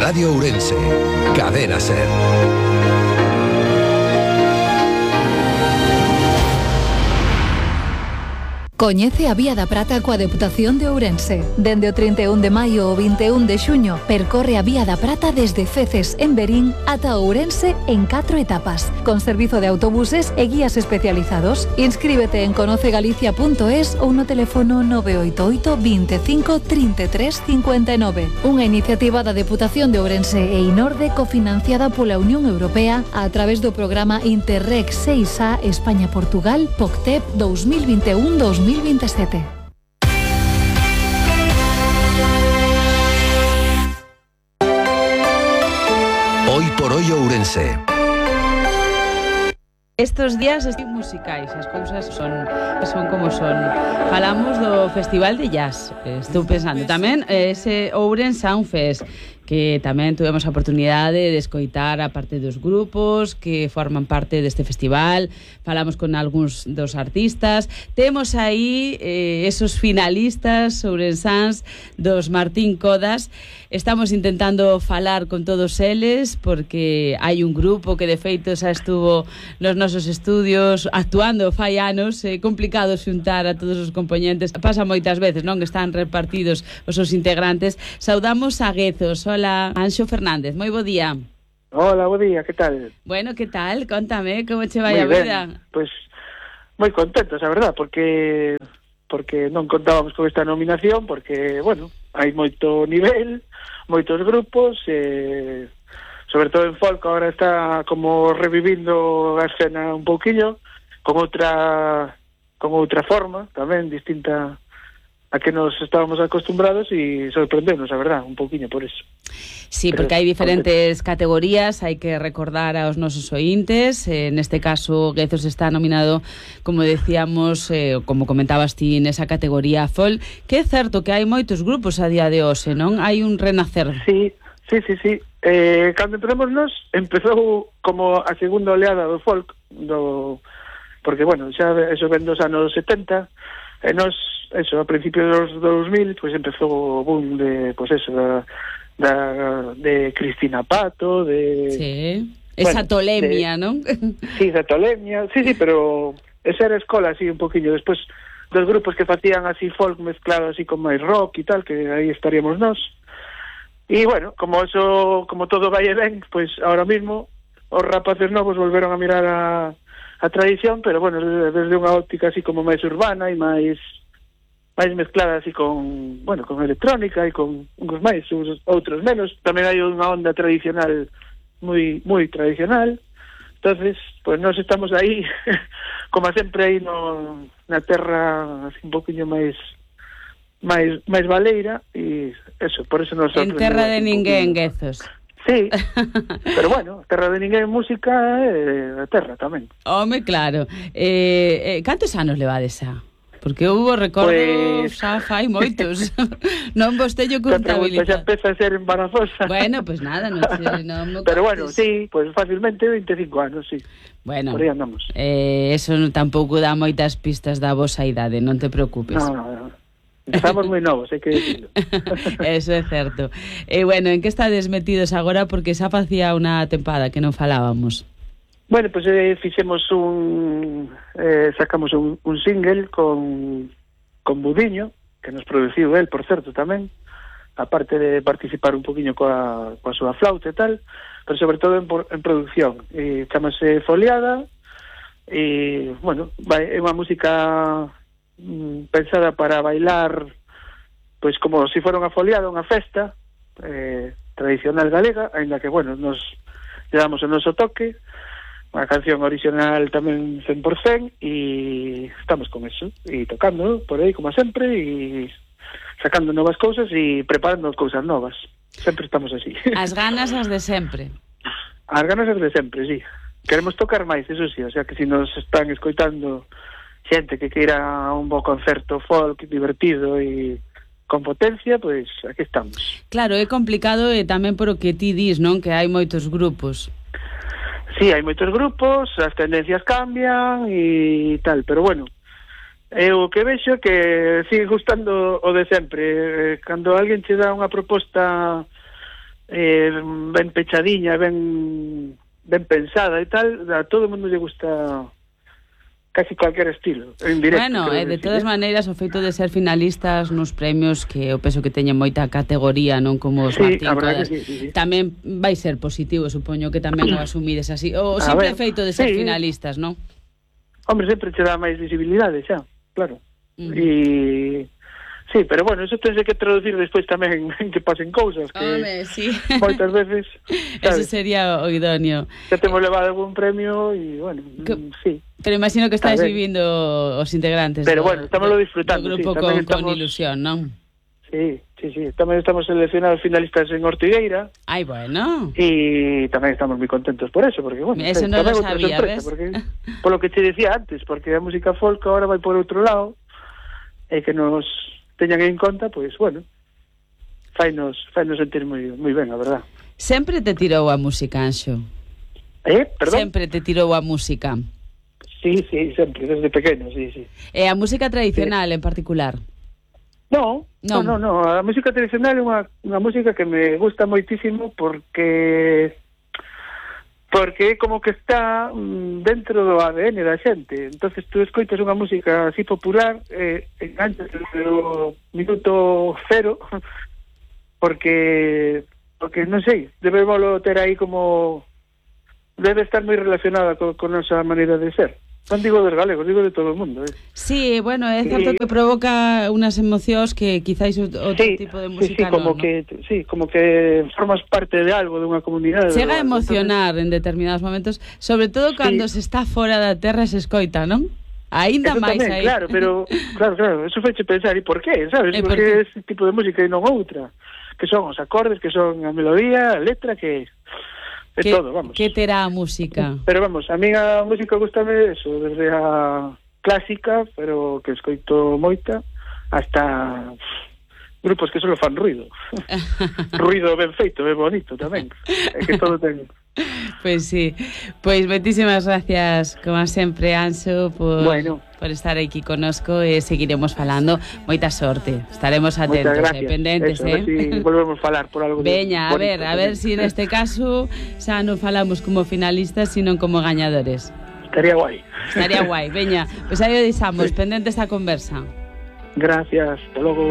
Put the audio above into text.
Radio Ourense, Cadena SER. Coñece a Vía da Prata coa Deputación de Ourense. Dende o 31 de maio ao 21 de xuño, percorre a Vía da Prata desde Feces, en Verín, ata Ourense en 4 etapas, con servizo de autobuses e guías especializados. Inscríbete en conocegalicia.es ou no teléfono 988 25 33 59. Unha iniciativa da Deputación de Ourense e Inorde cofinanciada pola Unión Europea a través do programa Interreg 6A España-Portugal POCTEP 2021-2027. Hoy por hoy Ourense. Estos días musicais, as cousas son como son. Falamos do Festival de Jazz. Estou pensando tamén ese Ourense Sound Fest, que tamén tuvemos a oportunidade de escoitar a parte dos grupos que forman parte deste festival. Falamos con algúns dos artistas. Temos aí esos finalistas ourensans dos Martín Codas. Estamos intentando falar con todos eles porque hai un grupo que de feito xa estuvo nos nosos estudios actuando fai anos. É complicado xuntar a todos os componentes. Pasa moitas veces, non? Que están repartidos os seus integrantes. Saudamos a Guezos. Hola, Anxo Fernández, moi bo día. Hola, bo día, que tal? Bueno, que tal? Contame, como che vai a vida? Pois, moi contentos, a verdad, porque non contábamos con esta nominación, porque, bueno, hai moito nivel, moitos grupos, sobre todo en folk, agora está como revivindo a escena un pouquiño, con outra forma, tamén, distinta a que nos estábamos acostumbrados, e sorprendernos, a verdad, un pouquiño por eso. Sí, porque hai diferentes categorías, hai que recordar aos nosos ointes. Neste caso, Guezos está nominado, como decíamos, como comentabas ti, nesa categoría folk, que é certo que hai moitos grupos a día de hoxe, non? Hai un renacer. Sí. Cando empezou como a segunda oleada do folk, porque, bueno, xa eso ven dos anos 70, e nos, eso, a principios dos 2000, pues empezou o boom de, pues eso, de Cristina Pato, de... Sí, esa tolemia, non? Sí, esa tolemia, sí, pero esa era a escola, así, un poquillo. Despois, dos grupos que facían así folk mezclado así con máis rock e tal, que aí estaríamos nós. E, bueno, como todo vai e ben, pues ahora mismo os rapaces novos volveron a mirar a tradición, pero, bueno, desde unha óptica así como máis urbana e máis mezclada así con electrónica e con uns máis, outros menos. Tamén hai unha onda tradicional moi tradicional. Entonces, pues nós estamos aí como sempre aí na terra así un poquinho máis baleira, e eso, por eso nos en terra de ninguén, Guezos. Sí, pero bueno, terra de ninguén música é a terra tamén. Home, claro. Cantos anos levades xa? Porque hubo recordos, pues, xa fai moitos. Non vos teño contabilidade. Xa empeza a ser embarazosa. Bueno, pues nada, non sei, non. Pero bueno, sí, pues fácilmente 25 anos, sí. Bueno, por aí andamos. Eso tampouco dá moitas pistas da vosa idade, non te preocupes. No. Estamos moi novos, hai que dicirlo. Eso é certo. Bueno, en que estades metidos agora? Porque xa facía unha tempada que non falábamos. Bueno, pues fixemos sacamos un single con Budiño, que nos produciu el, por certo, tamén, aparte de participar un poquinho coa súa flauta e tal, pero sobre todo en producción. Chámase Foliada, e, bueno, é unha música pensada para bailar, pois como se fora unha foliada, unha festa tradicional galega, aínda que, bueno, nos lle damos o noso toque. Unha canción original tamén 100%, e estamos con eso, e tocando por aí como sempre, e sacando novas cousas e preparando cousas novas. Sempre estamos así. As ganas as de sempre. As ganas as de sempre, sí. Queremos tocar máis, eso sí, o sea que se nos están escoitando xente que queira un bo concerto folk divertido e con potencia, pois aquí estamos. Claro, é complicado e tamén por o que ti dis, non? Que hai moitos grupos. Sí, hai moitos grupos, as tendencias cambian e tal, pero bueno, o que vexo que sigue gustando o de sempre. Cando alguén che dá unha proposta ben pechadiña, ben pensada e tal, a todo o mundo lle gusta casi cualquier estilo, en directo. Bueno, de todas maneiras, o feito de ser finalistas nos premios, que eu penso que teñen moita categoría, non como os Martín Codas, sí. tamén vai ser positivo, supoño que tamén o asumides así. O simple feito de ser finalistas, non? Hombre, sempre che dá máis visibilidade, xa, claro. E... Sí, pero bueno, eso tense que traducir despois tamén en que pasen cousas que sí. moitas veces, Eso sabes, sería o idóneo. que temos levado algún premio e, bueno, sí. Pero imagino que estáis vivindo os integrantes. Pero bueno, estamos disfrutando, do grupo sí, con ilusión, non? Sí. Tamén estamos seleccionados finalistas en Ortigueira. Ai, bueno. E tamén estamos moi contentos por eso, porque, bueno, eso non lo sabía, ves? Porque, por lo que te decía antes, porque a música folk ahora vai por outro lado, e que nos teñan en conta, pois, bueno, fainos sentir moi ben, a verdad. Sempre te tirou a música, Anxo? Perdón? Sempre te tirou a música? Sí, sempre, desde pequeno, sí. E a música tradicional en particular? No, a música tradicional é unha música que me gusta moitísimo porque é como que está dentro do ADN da xente. Entonces tú escoitas unha música así popular, enganchas o minuto cero, porque non sei, debémoslo ter aí como... debe estar moi relacionada con esa maneira de ser. Non digo dos galegos, digo de todo o mundo. Sí, bueno, é certo que provoca unas emocións que quizáis outro tipo de música como que formas parte de algo, de unha comunidade. Chega a emocionar en determinados momentos, sobre todo cando se está fora da terra e se escoita, non? Ainda máis aí. Claro, pero claro, eso faiche pensar, e por qué, sabes? Porque ese tipo de música e non outra, que son os acordes, que son a melodía, a letra, que todo, vamos. Que terá a música? Pero vamos, a mí a música gustame eso, desde a clásica, pero que escoito moita, hasta grupos que só fan ruido. Ruido ben feito, ben bonito tamén. É que todo ten... Pois sí. Pois moitísimas gracias, como sempre, Anxo, por estar aquí connosco e seguiremos falando. Moita sorte. Estaremos atentos e pendentes, a ver si volvemos falar por algo. Veña, a ver si neste caso xa non falamos como finalistas, sino como gañadores. Estaría guai. Veña, pois aí o deixamos, pendentes a conversa. Gracias, hasta logo.